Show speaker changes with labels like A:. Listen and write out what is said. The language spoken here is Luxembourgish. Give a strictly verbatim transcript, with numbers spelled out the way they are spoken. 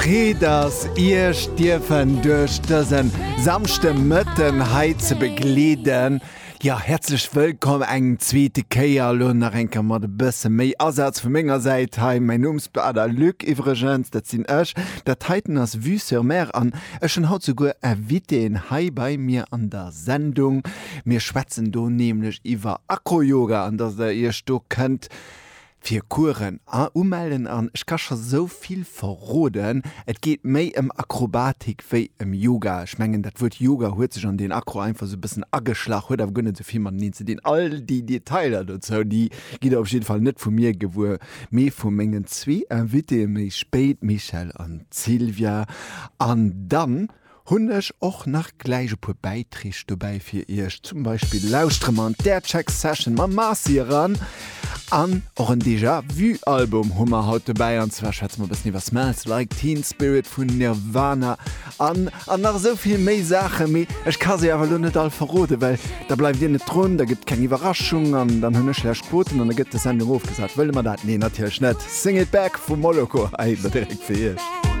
A: Freed ass, Iech dierfen duerch dëse Samschdemëtten hei ze begleeden. Ja, häerzlech wëllkomm eng zweete Kéier, elo nach eng Kéier mat e bësse méi Asaz vu menger Säit hei. Mäin Numm ass Luc iwwregens, dat sinn ech. Dat heiten ass Vue sur Mer an ech hunn haut souguer Invitéen hei bei mir an der Sendung. Mir schwätzen do nämlech iwwer Acro-Yoga an dass der Iech do kënnt fir Coursen umellen an ech ka scho sou vill verroden, et geet méi ëm Akrobatik wéi ëm Yoga. Ech mengen dat Wuert Yoga huet sech an den Acro einfach sou e bëssen ageschlach, huet awer guer net sou vill mateneen ze dinn. All déi Detailer dozou, déi gitt der op jidde Fall net vu mir gewuer, mee vu mengen zwee Invitéë méi spéit, Michèle an Sylvia. An dann hunn ech och nach gläich e puer Bäiträg dobäi fir Iech. Zum Beispill lauschtere mer an d'Aircheck Session mam Marcy eran an och en Déjà Vu Album hu mer haut dobäi an zwar schwätze mer e bëssen iwwer Smells Like Teen Spirit vun Nirvana an an nach esou vill méi Saachen. Mee ech ka se awer elo net all verroden, well da bleift Dir net drun, da gëtt keng Iwwerraschung an dann hunn ech schlecht Quoten an da gëtt d'Sendung ofgesat. Wëlle mer dat? Nee, natierlech net. Sing It Back vu Moloko hei direkt fir Iech.